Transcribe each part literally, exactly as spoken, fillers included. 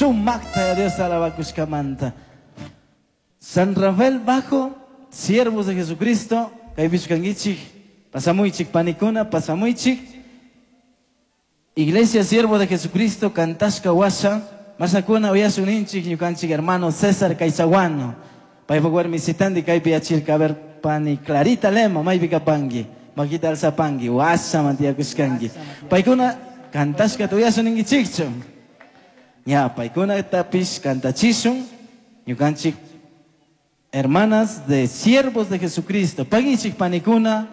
Sumaqta Dios alabakushkamanta. San Rafael Bajo, siervos de Jesucristo, kaypichu kankichik, pasamuychik panikuna, pasamuychik. Iglesia Siervo de Jesucristo, kantashka washa, mashnakuna uyashun ninchik ñukanchik hermano César Caizaguano. Paypak warmisitandi kaypi achirka, a ver, pani Clarita Lema, maypi kapanki, makita alzapanki, washaman tiyakushkanki. Paykuna kantashkata uyashun ninkichikchu. Ña, paykunatapish kantachishun, ñukanchik hermanas de siervos de Jesucristo. Pagichik panikuna,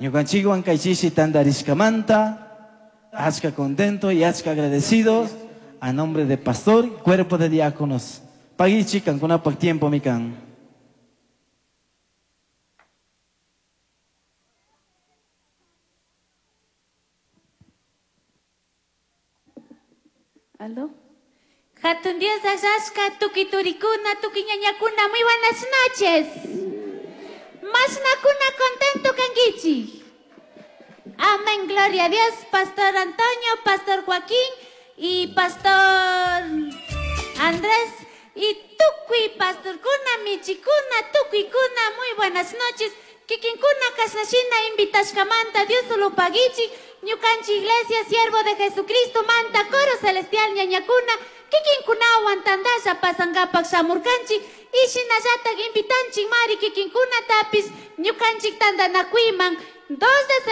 ñukanchikwan kaychishi tandarishkamanta, achka contento y achka agradecidos a nombre de pastor y cuerpo de diáconos. Pagichik kankunapak tiempo mikan. Aló. Hatun Dios allashka, tukuy turikuna, tukuy ñañakuna, muy buenas noches. Mashnakuna contento kankichik. Amén, gloria a Dios. Pastor Antonio, Pastor Joaquín y Pastor Andrés y tukuy pastorkuna, michikuna, tukuykuna, muy buenas noches. Kikinkuna kashnashina invitashkamanta, Dios solo pagichik, ñukanchik iglesia, siervo de Jesucristo, manta, coro celestial, ñañakuna, kikinkunawan tandalla pasangapak shamurkanchik, y shinallatak invitanchik mari kikinkunatapis, ñukanchik tandanakuyman, dos de septiembre.